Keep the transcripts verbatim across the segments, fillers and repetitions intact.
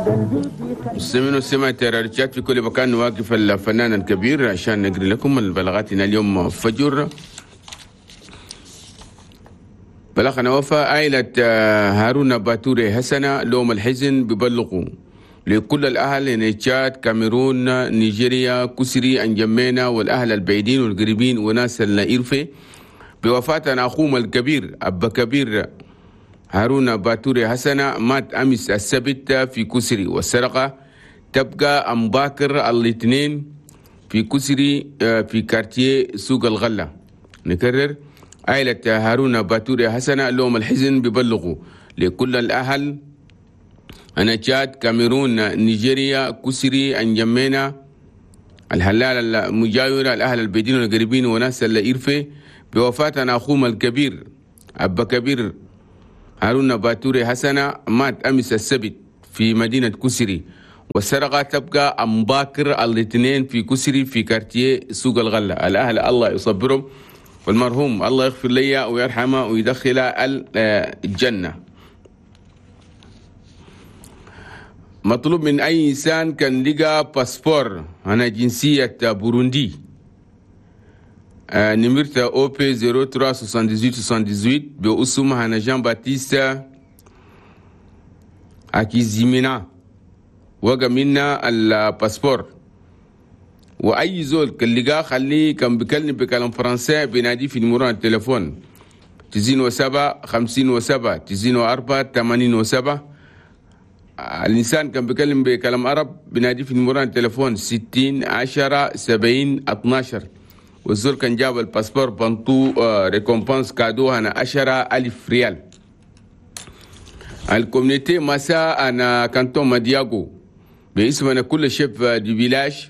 مستمعين ومستمعات راديو تشاد في كل مكان، نواقف الفنان الكبير عشان نقري لكم البلاغاتنا اليوم فجر. بلغنا وفاة عائلة هارون باتوري حسنة لوم الحزن ببلغوا لكل الأهل تشاد، كاميرون، نيجيريا، كسري، أنجمينا والأهل البعيدين والقريبين وناس الإرفي بوفاة أخوهم الكبير أبا كبير هارون باتوري حسنة، مات أمس السبت في كسري، والسرقة تبقى أمباكر الاثنين في كسري في quartier سوق الغلة. نكرر، عائلة هارون باتوري حسنة لوم الحزن ببلغوا لكل الأهل أنا تشاد، كاميرون، نيجيريا، كسري، أنجمينا، الهلال المجاورة، الأهل البيدين والقريبين وناس الإرفي بوفاة أخوهم الكبير أبا كبير هارون باتوري حسنة، مات أمس السبت في مدينة كسري، والسرقة تبقى أمباكر الاثنين في كسري في quartier سوق الغلة. الأهل الله يصبرهم، والمرحوم الله يغفر لي ويرحمه ويدخله الجنة. مطلوب من أي إنسان كان لقى باسبور أنا جنسية بوروندي آه نمرة أو بي صفر ثلاثة ثمانية ثمانية ثمانية باسم هنا جان باتيست أكيزيمينا وقع منا الباسبور. وأي زول كان لقاه خليه كان بيكلم بكلام فرنسي بينادي في نمرة التليفون تسعين وسبعة خمسين وسبعة تسعين وأربعة ثمانين وسبعة. الإنسان كان بيكلم بكلام عرب بينادي في نمرة التليفون ستين عشرة سبعين اثناشر. والزول كان جاب الباسبور بنطو récompense cadeau هنا عشرة ألف ريال. ال communauté مساء أنا canton مدياغو باسمنا كل chefs de village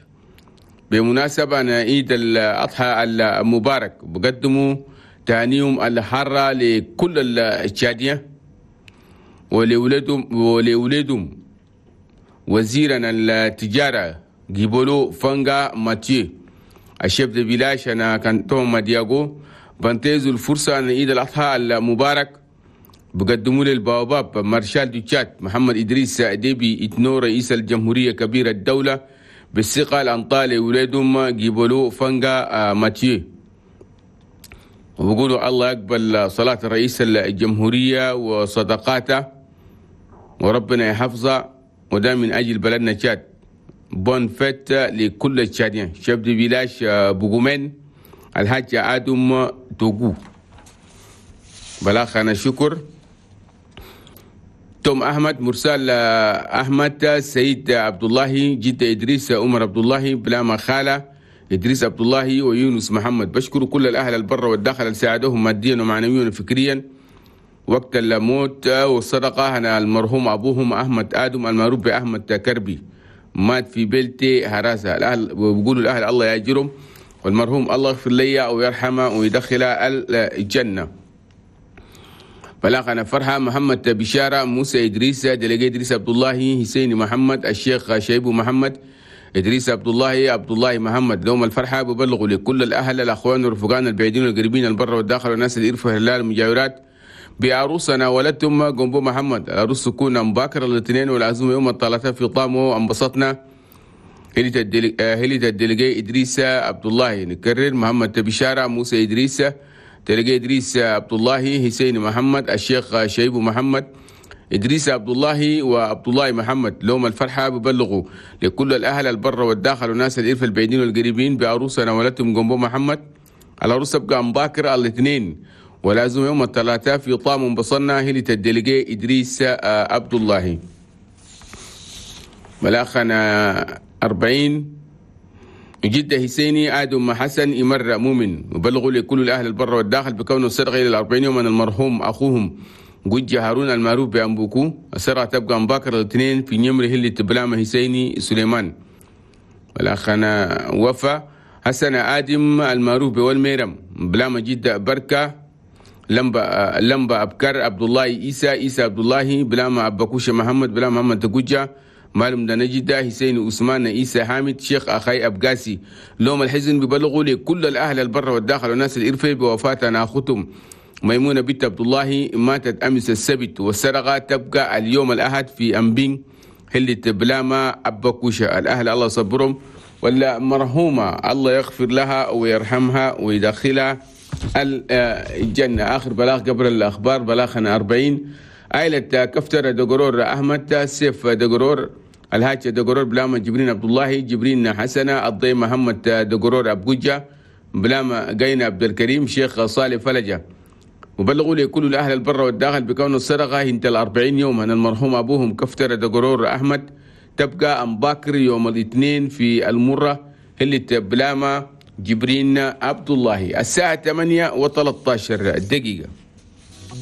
بمناسبة أنا عيد الأضحى المبارك بقدموا تهانيهم الحارة لكل التشادية ولولدهم ولولدهم وزيرنا التجارة جيبولو فانغا ماتيو ال chef de village أنا canton مدياغو بنتهزوا الفرصة أن عيد الأضحى المبارك بقدموا للبواباب maréchal du تشاد محمد إدريس ديبي إتنو رئيس الجمهورية كبير الدولة بالثقة الأنطالي ولادهم جيبولو فانغا ماتيو. وبقولوا الله يقبل صلاة رئيس الجمهورية وصدقاته وربنا يحفظه، وده من أجل بلدنا تشاد. bonne fête لكل التشاديين. chef de village بوغومين الحاج آدم توغو. بلاغنا شكر توم أحمد مرسال أحمد سيد عبد الله جد إدريس عمر عبد الله بلاما خالة إدريس عبد الله ويونس محمد. بشكر كل الأهل البر والداخل اللي ساعدوهم ماديا ومعنويا وفكريا وقت الموت والصدقة. أنا المرحوم أبوهم أحمد آدم المعروف بأحمد كربي مات في بلتي هراسة. الأهل وبيقولوا الأهل الله يأجرهم، والمرحوم الله يغفر لي ويرحمه ويدخله الجنة. بلاغنا فرحة محمد بشارة موسى إدريس délégué إدريس عبد الله حسين محمد الشيخ شيبو محمد إدريس عبد الله عبد الله محمد. لهم الفرحة ببلغوا لكل الأهل الأخوان والرفقان البعيدين والقريبين البر والداخل والناس اللي يرفوا هلال المجاورات بعروسنا ولدتم جنبو محمد. العروس تكون مباكر الاثنين والعزومة يوم الثلاثاء في طامو. انبسطنا هلت ال délégué إدريس عبد الله. نكرر محمد بشارة موسى إدريس délégué إدريس عبد الله حسين محمد الشيخ شيبو محمد إدريس عبد الله وعبد الله محمد. لهم الفرحة ببلغوا لكل الأهل البر والداخل والناس الإرفة البعيدين والقريبين بعروسنا ولدتم جنبو محمد. العروس تبقى مباكر الاثنين ولازم يوم الثلاثاء في طام انبصرنا هلت ال délégué إدريس عبد الله. بلاغنا أربعين جدة حسيني آدم حسن إمر مؤمن وبلغوا لكل الأهل البر والداخل بكونه السرقة إلى الأربعين يوما المرحوم أخوهم جوجي هارون المعروف بأمبوكو. السرقة تبقى مباكر الاثنين في نمر هلة بلامة حسيني سليمان. والأخنا وفا حسن آدم المعروف بولميرم بلامة جدة بركة لمبا لمبا أبكر عبد الله عيسى عيسى عبد الله بلامة أبكوشة محمد بلامة محمد تجوجة معلم دنا جدة حسين عثمان عيسى حامد شيخ أخي أبقاسي. لوم الحزن ببلغوا لكل الأهل البر والداخل والناس الإرفي بوفاة أختهم ميمونة بنت عبد الله ماتت أمس السبت، والسرقة تبقى اليوم الأحد في أمبين اللي بلاما أبا كوشة. الأهل الله صبرهم، ولا مرحومة الله يغفر لها ويرحمها ويدخلها الجنة. آخر بلاغ قبل الأخبار بلاغنا أربعين، عائلة كفتر دقرور أحمد سيف دقرور الهاج دقرور بلاما جبرين عبد الله جبرين حسنة الضي محمد دقرور أبوجة بلاما قينا عبد الكريم شيخ صالح فلجة. وبلغوا لكل الأهل البر والداخل بكون السرقة انت الأربعين يوم أن المرحوم أبوهم كفتر دقرور أحمد تبقى أم باكر يوم الاثنين في المرة اللي بلاما جبرين عبد الله الساعة ثمانية وثلاثة عشر دقيقة.